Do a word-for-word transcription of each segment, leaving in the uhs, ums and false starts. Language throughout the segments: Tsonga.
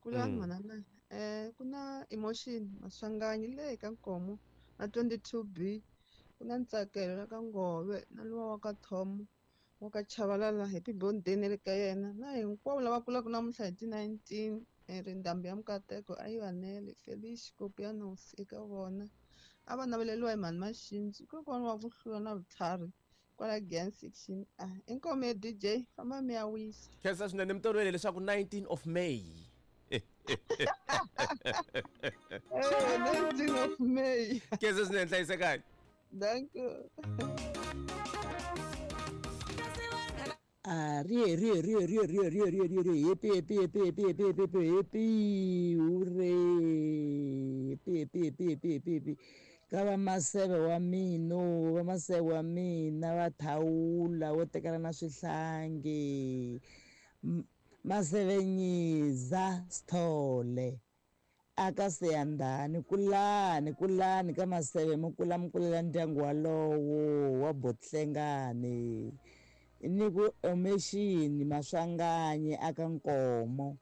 Kulani Mm. manana. Eh ku na Emotion Maswanganyi le ka Nkomo na twenty-two B. Ku na Ntsakelo la ka Ngove na luwa wa ka Thomo wa ka Chavalala, happy birthday ne le ka yena na hinkwavo lava kulaka namuntlha hi ti nineteen. Eh, ri ndhambi ya Mukateko a yi vanele Felice Kopianos eka vona a va naveleriwa hi mhani Maxinzi kokwana wa ku hlula na vutlhari kwala Giyani section. Ah, inkomu ya D J famba mi ya wisa. Khensa swinene mi tolovele leswaku nineteen of May. Eh, nineteen of May. Khensa swinene, hlayisekani. Thank you. Ah, rie, rie, rie, rie, rie, rie, rie, rie, rie, happy, happy, happy, happy, happy, happy, happy, happy, hooray, happy, happy, happy, happy, happy, happy. Ka va maseve wa mina, va maseve wa mina va thawula wo tekana na swihlangi. M-, Maseve Nyiza Sithole aka Siyandhani, kulani, kulani ka maseve mi kula mi kulela ndyangu walowo wa Botlhengani. Ni ku Emotion Maswanganyi aka Nkomo,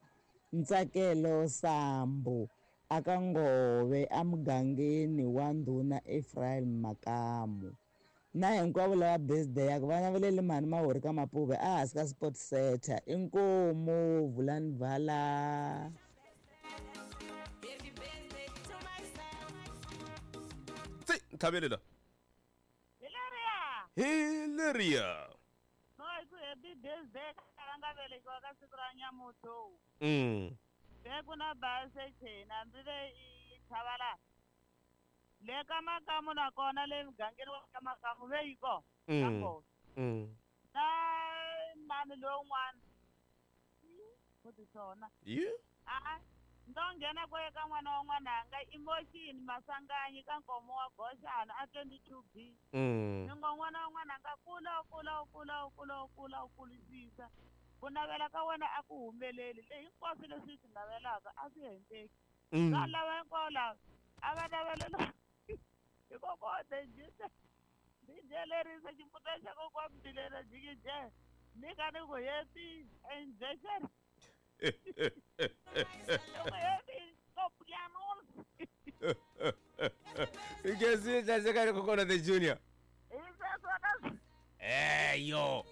Ntsakelo Sambu aka Ngove emugangeni wa Ndhuna Ephraim Makamu. Na hinkwavo lava birthday ya ku va navelele mhani Mahori ka Mapuve a hansi ka Sport Center. Inkomu vulani vala. Tsi, nthavelela. Hi leriya. Hi leriya. No, hi ku happy birthday ka va nga velekiwa ka siku ra Nyamuto. Mm. Be ku na base chena hambi ve i Chavalala. Le ka Makamu na kona le mugangeni wa ka Makamu ve yi kona. Mm. Ka kona. Mm. Na mani lowun'wana. Ku ti swona. Yeah. A-a. Ndo nghena ku eka n'wana wa n'wananga Emotion Maswanganyi ka Nkomo wa Goxana a twenty-two B. Mm. Ni ngo n'wana wa n'wananga kula, kula, kula, kula, kula, kulisisa. Ku navela ka wena a ku humeleli. Le hinkwaswo leswi swi navelaka a swi endleki. Mm. Va lava hinkwavo lava a va navelela hikokwalaho D J D J lerisa ximbuta xa kokwana Mbilena jikije ni ka ni ku happy injection. Ikezi hlayisekani kokwana the Junior. Eyo.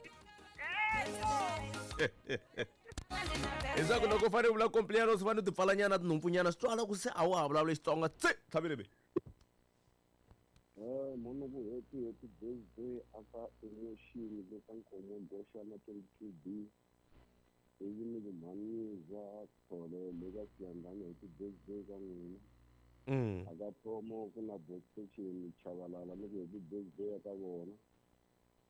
Leswaku loko u fanele u vula Compliance u fanele u ti pfalanyana tinhompfunyana swi twala ku se a wa ha vulavuli Xitsonga. Tsi, tlhavile be. Eh, munhu ku happy, happy birthday aka Emotion le ka Nkomo Goxana twenty-two B. Ivi ni ku Mhaniza Sithole le ka Siyandhani happy birthday ka n'wina. Mm. Aka Thomo ku na Boxstation Chavalala ni ku happy birthday ka vona.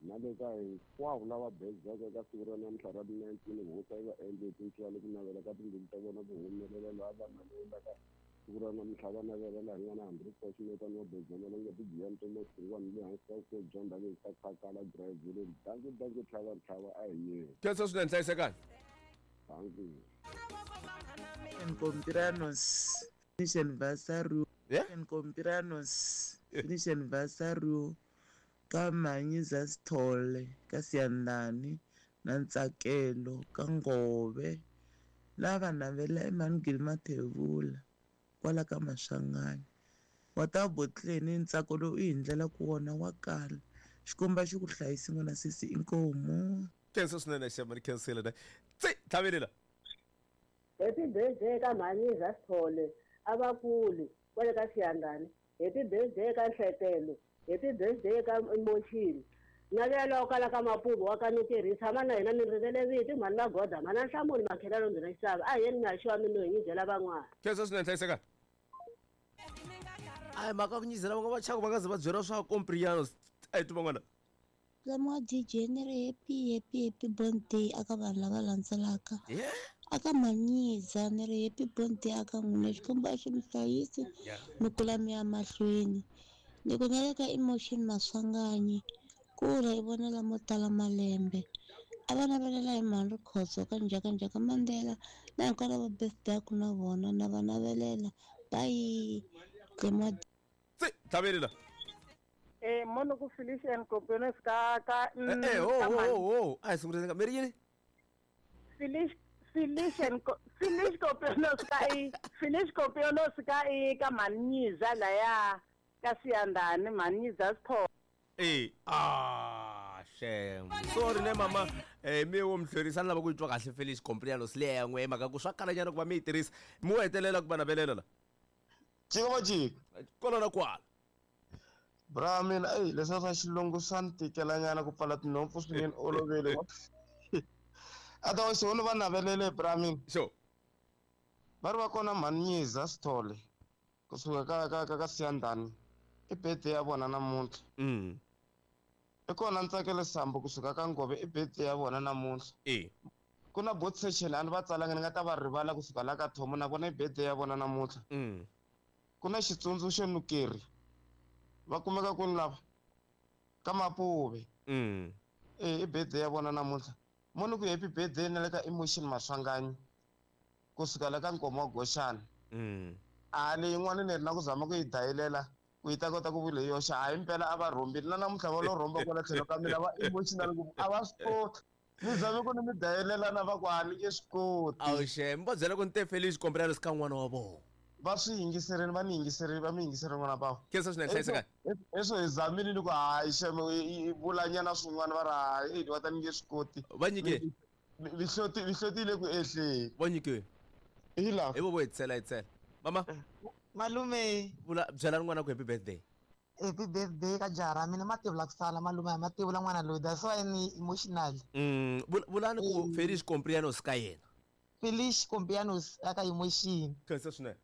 Na le ka hinkwavo lava birthday eka siku ra namuntlha ra nineteen Hhosi a yi va endle tintswalo ku navela ka timbilu ta vona ku humelela laha va navelaka siku ra namuntlha va navelela hi n'wana hambi ri Fortunate no birthday na nga ti Giyani Thomas Xingwani le hansi ka vukosi bya ndhavuko ka Khakala Drive. Dankie, dankie, tlhava, tlhava, a hi yeni. Khensa swinene, hlayisekani. Thank you. Compliance finish anniversary. Yeah? Compliance finish anniversary ka Manyiza Sithole ka Siyandhani na Ntsakelo ka Ngove lava navela Emmanuel Mathebula kwala ka Maswanganyi. Wa ta Botleni ntsako lowu i hi ndlela ku wona wa kala. Xikomba xi ku hlayisi n'wana sesi inkomu. Khensa swinene xema ni khensile ne. Tsi, tlhavelela. Happy birthday ka Manyiza Sithole a va kuli kwale ka Siyandhani. Happy birthday ka Nhlekelo. Happy birthday ka Emotion. Navela kwala ka Mapuve wa ka Ntirhi tshama na hina ni rivele vito mhani va goda mhani Nhlamulo Makhelalo ndzi na xava a hi yeni mi ya xiwa mi no hi nyizela van'wana. Khensa swinene, hlayisekani. A hi mhaka ku nyizela van'wana va chaka va nga ze va byeriwa swa Compliance. A hi twa van'wana. Lama D J ni ri happy, happy, happy birthday aka vanhu lava landzelaka. Yeah. Aka Manyiza ni ri happy birthday aka n'wina Xikwembu a xi mi hlayisi Yeah. mi kula mi ya mahlweni. Ni ku na le ka Emotion Maswanganyi kula hi vona lamo tala malembe. A va navelela hi mhani Rikhotso ka Njhaka Njhaka Mandela na hinkwavo lava birthday ku na vona na va navelela. Bye. Tlema. Tsi, tlhavelela. Eh, mono ku Felician Compliance ka ka Eh, eh, ho, ka ho, mhani. ho, ho. A hi sunguleni ka mi ri yini? Felic-, Felician Felice Compianos ka i Felice Compianos ka i ka Manyiza laya ka Siyandani Manyiza Sipho. Eh ah shame. Sorry ne mama eh mi wo mhlorisa lava ku twa kahle Felice Compianos leya n'we maka ku swa kala nyana ku va mi yi tirhisa mi wo hetelela ku va navelela la. Jiko jiko. Kona na kwala. Bra mina ey leswi swa xilungu swa ni tikela nyana ku pfala tinhompfu swinene olovele. Otherwise wona va navelele bra mina. Sure. Va ri va kona Manyiza Sithole kusuka ka ka ka ka Siyandani i birthday ya vona namuntlha. Mm. I kona Ntsakelo Sambo kusuka ka Ngove i birthday ya vona namuntlha. Eh. Ku na bot session a ni va tsalanga ni nga ta va rivala kusuka la ka Thomo na vona i birthday ya vona namuntlha. Mm. Ku na xitsundzuxo Nukeri va kumeka kwini lava ka Mapuve. Mm. Eh i birthday ya vona namuntlha. Moni ku happy birthday na le ka Emotion Maswanganyi kusuka la ka Nkomo wa Goxana. Mm. A leyi yin'wana ni ri na ku zama ku yi dayilela ku yi ta kota ku vula hi yoxe a himpela a va rhombile na namuntlha va lo rhomba kwala tlhelo ka mina va emotional ngopfu a va swi koti ni zame ku ni mi dayilela na va ku a ni nge swi koti. Awu shame va byela ku ni te Felice Compianos ka n'wana wa vona. Va swi yingiserini va ni yingiserini va mi yingiserini n'wana va. Khensa swinene hlayiseka. Leswo hi zamile ni ku hayi shame i vulanyana swin'wana va ri hayi va ta ni nge swi koti. Va nyike. Mihloti mihloti yi le ku ehleni. Va nyike. Hi laha. Hi vo vo hetisela hetisela. Mama. Malume. Vula byela n'wana ku happy birthday. Happy birthday ka jaha ra mina mativula ku sala malume mativula n'wana loyi that's why ni emotional. Mm vulani ku Felice Compianos ka yena. Felice Compianos aka emotion. Khensa swinene.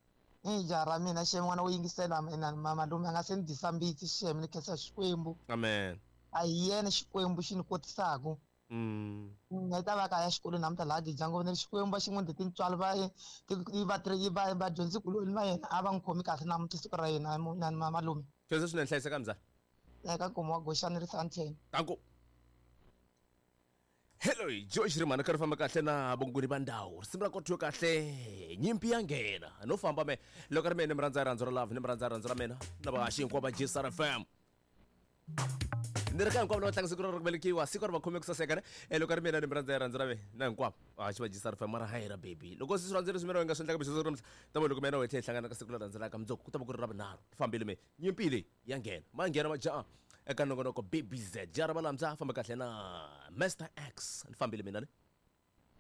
I jaha ra mina xem n'wana wo yingisela mina malume a nga se ni dyisa mbitsi xem ni khensa Xikwembu. Amen. A hi yena Xikwembu xi ni kotisaku. Mm. Ni ta va kaya xikolweni namuntlha laha Gidyango ni ri Xikwembu va xi n'wi tintswalo va va va vadyondzikuloni va yena a va n'wi khomi kahle namuntlha siku ra yena na malume. Khensa swinene hlayiseka mzala. Eka Nkomo wa Goxana ri Sandton. Danko. Hello, Josh Rimana ka ri famba kahle na vongoni va ndhawu risimu ra kothiwe kahle nyimpi ya nghena no famba me loko ri mina ni mi rhandza rirhandzu ra love ni mi rhandza rirhandzu ra mina na vahaxi hinkwavo va G S R F M ni ri ka hinkwavo lava tlanga siku ra ku velekiwa siku ri va khome ku saseka ne loko ri mina ni mi rhandza rirhandzu ra mina na hinkwavo vahaxi va G S R F M mara hayi ra baby loko swi rhandza leswi mina nga swi endlaka bixi ra ta va loko mina wethe hi hlangana ka siku leri landzelaka mundzuku ku ta va ku ri ra vunharhu fambile me nyimpi leyi ya nghena ma nghena majaha eka nongonoko B B Z jara va lamza famba kahle na Master X ni fambile mina ne.